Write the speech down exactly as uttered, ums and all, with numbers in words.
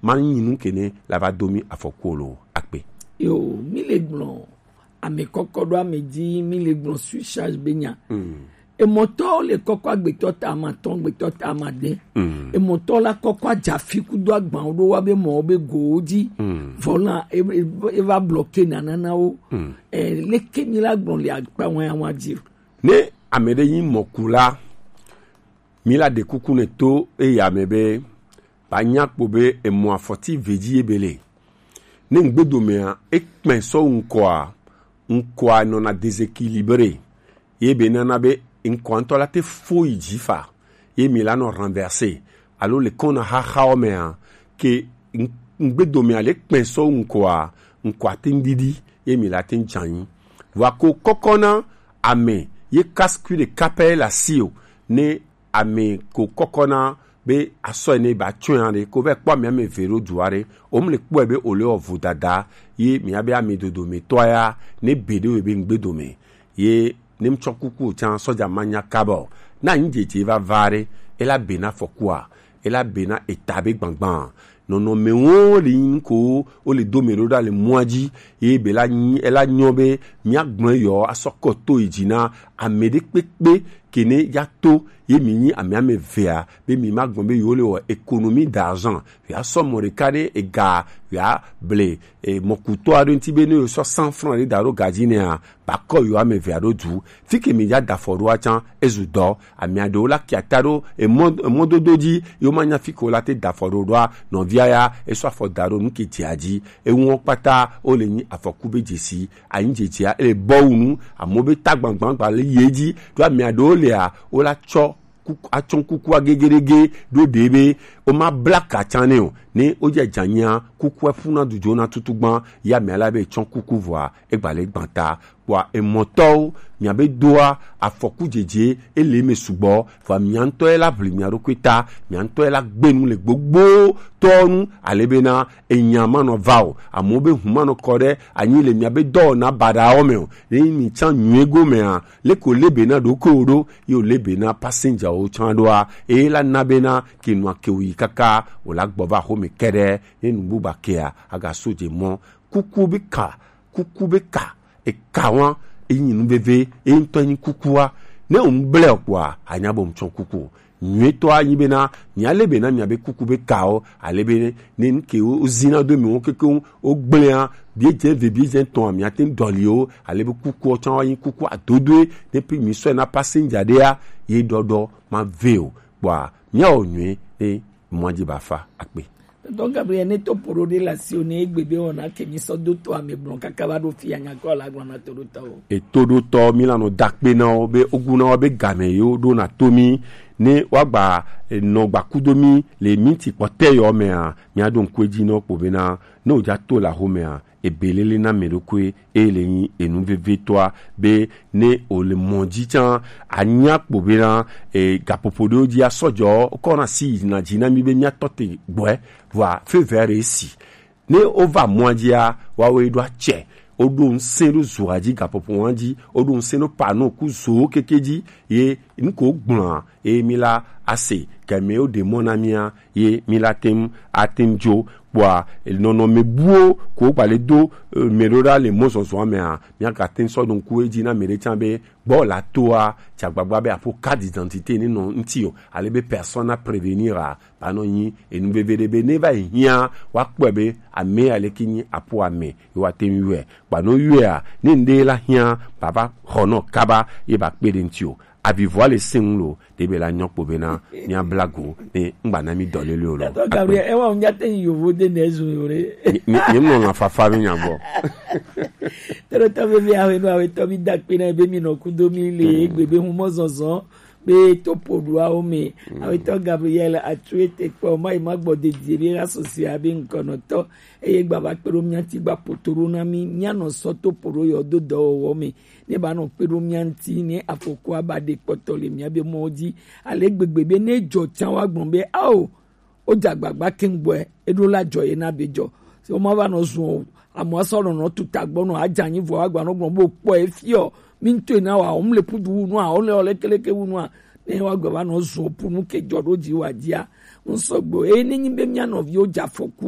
Ma nyi nu ke ne la va do mi afɔku o lo akpe. Yo, mi le gblɔ ame kɔkɔ ɖo ame dzi, mi le gblɔ surcharge be nya. Emɔtɔwo le kɔkɔ agbetɔ ta ama tɔn, gbetɔ ta ama de. Emɔtɔ la kɔkɔ adza fi kudo agbawo ɖo wa be mɔwo be gowo dzi. Vɔ la, e, e, e va bloqué nananawo. E, leke mi la gblɔ le akpa wan wan dzi o. Ne ame ɖe nyi mɔkula, mi la ɖe kuku ne to eya me be, ba nya kpo be emɔ afɔti ve dzi ye be le. Ne ŋgbedomea, ekpɛ sɔ ŋkɔa, ŋkɔa nɔna déséquilibré. Ye be nana be ŋkɔa ŋutɔ la te fo yi dzi fa. Ye mi la nɔ renversé. Alo le kɔna xaxawo mea, ke ŋ-, ŋgbedomea le kpɛ sɔ ŋkɔa, ŋkɔa te ŋdidi. Ye mi la te ŋdzanyi. Vɔa ko kɔkɔna ame ye casse-cul ɖeka pɛ la si o. Ne ame ko kɔkɔna be asɔ ene ba tsɔe aɖe ko vɛ kpɔ ame ame ve ɖo du aɖe, o mu le kpɔe be o le wɔ vodada ye mia be ame dodo me tɔ ya ne be ɖe be ŋgbe dome ye ne mu tsɔ kuku o tsan sɔdza ma nya kaba o. Na anyi dzedze va va ɖe, ela be na fɔkua, ela be na eta be gbagban. Nɔnɔme wo le yin ko o le do me ɖo ɖa le mɔa dzi, ye be la nyi, ela nyɔ be mia gblɔ yɔ asɔ kɔ to yi dzi na ame ɖe kpekpe ke ne ya to ye mi nyi ame ame vea be mi ma gbɔn be yo le wɔ économie d'argent. Ya sɔ mɔ ɖeka ɖe ega ya ble, e, mɔkutɔ aɖe ŋuti be ne yo sɔ cent francs ɖe da ɖo gadzi nɛa, ba kɔ yo ame vea ɖo du. Fi ke mi ya da fɔ ɖo atsan ezu dɔ. Ame aɖewo la kia ta ɖo emɔ, emɔdodo dzi, yo ma nya fi ke wo la te da fɔ ɖo ɖoa, nɔvia ya esɔ afɔ da ɖo nu ke dzia dzi. Eŋuɔ kpata wo le nyi afɔku be dzesi. Anyi dzedzia ele bɔ wu nu, amewo be ta gbangbangba le ye dzi. Ɖo ame aɖewo lea, wo la tsɔ kuku, atsɔ kukua gegedege ɖo ɖe be wo ma bla ka tsan ne o. Ne wo dze dzanyia, kukua ƒuna dudzo na tutugban, ya ame ala be tsɔ kuku vɔa, egba le gbanta. Kpɔa emɔtɔwo, miabe doa afɔku dzedze ele me sugbɔ, vɔa mia ŋutɔ ye la ʋli mia ɖokui ta, mia ŋutɔ ye la gbe nu le gbogbo tɔ nu, ale bena enya manɔ va o, amewo be hu manɔ kɔ ɖe anyi le miabe dɔwɔna baɖawo me o. Ne mi tsan nyuie go mea, leko le bena ɖokuiwo ɖo, ye wo le bena passenger wo tsan ɖoa, eye la na bena ke nua ke wo yi kaka wo la gbɔ va xome kɛɖɛ, ne nu buba kea, aga so dze mɔ. Kuku be ka, kuku be ka, eka wa, enyi nu veve, e ŋutɔ nyi kukua. Ne wo ŋgble o kpɔa, anya be ŋtsɔ kuku o. Nyuietɔ anyi bena, mia le bena mia be kuku be kawo, ale be ne nke wo zina do mi wo keke wo gblea, bie dze ve bie dze tɔn mia te dɔli o, ale be kuku o tsan wa nyi kuku adodoe, ne pi mi sɔ na passenger ɖea, ye ɖɔɖɔ ma ve o. Kpɔa, mia wo nyui, ne mɔa dzi ba fa akpe. Donc Gabriel, ne to poro ɖe la si o ne egbe be wɔna ke mi sɔ do to ame gblɔ kaka va ɖo fia nya kɔ la gblɔ na to ɖo tɔ o. Eto ɖo tɔ mi la nɔ dakpe na wo be ogu na wo be game yo ɖo na to mi ne wa gba, e, nɔ gba kudo mi le minti kpɔtɛ yɔ mea, mia ɖo ŋku edzi nɔ kpo bena ne o dza to la xo mea, ebelele na mɛ ɖokui e le nyi enu vevetɔa be ne o le mɔ dzi tsan anya kpo bena, e, gaƒoƒo ɖewo dzi asɔdzɔ kɔ na si yina dzi na mi be mia tɔ te gbɔe vɔa fevɛ ɖe si ne o va mɔa dzia wa wo ɖo atsɛ o ɖo ŋsɛ ɖo zoa dzi gaƒoƒo wa dzi o ɖo ŋsɛ ɖo pano ku zo keke dzi ye nuko gblɔa eye mi la ase kɛmɛ wo ɖe mɔ na mia ye mi la tem atem dzo kpɔa nɔnɔme buwo ko gba le do, e, mɛ ɖo ɖa le mɔzɔzɔa mea mia ga tem sɔ ɖo ŋku edzi na mɛ ɖe tsan be gbɔ la toa tsa gbagba be aƒo carte d'identité ne nɔ ŋti o ale be personne à prévenir a ba nɔ nyi enu veve ɖe be ne va yi hiã wa kpɔe be ame ya leke nyi aƒo ame ye wa tem yɔe. Kpa no yɔea, ne ŋɖe la hiã, bava xɔ nɔ kaba ye ba kpe ɖe ŋti o. Avivɔa le sẽŋu lo, ɖe be la nyɔ kpo bena mia bla go ne ŋgba na mi dɔ lele o lo. Tɔ Gabriel, ewa ŋdza te yi yovo de ne zu yo ɖe. Nye nye nɔ la fafa mi nya gbɔ. Tɔɖotɔ veve awe no awe tɔ mi da kpe na be mi nɔ kudo mi le egbe be humɔ zɔzɔ be to poɖuawo me. Awetɔ Gabriel Atsuete kpɔ ma yi ma gbɔ dedie be asosia be ŋkɔnɔtɔ eye gba va kpe ɖo mía ŋuti gba poto ɖo na mí míanɔ sɔ to poɖo yɔ do dɔwɔwɔ me ne ba nɔ kpe ɖo mía ŋuti ne afɔkua ba ɖe kpɔtɔ le mía be mɔwo dzi ale gbegbe be ne dzɔ tsã wa gblɔ be ao wodze agbagba keŋ gbɔe eɖo la dzɔ ye na be dzɔ. Se woma va nɔ zun o amewo asɔ nɔnɔ tuta gbɔ nɔ adze anyi vɔ agba nɔ gblɔ be wokpɔ efiɔ mi ŋutɔe na wa wom le pudu wu nua wole wole keleke wu nua ne wa gbe va nɔ zun o punu ke dzɔ ɖo dzi wa dzia ŋsɔgbe o eye ne nyi be mía nɔviwo dze afɔku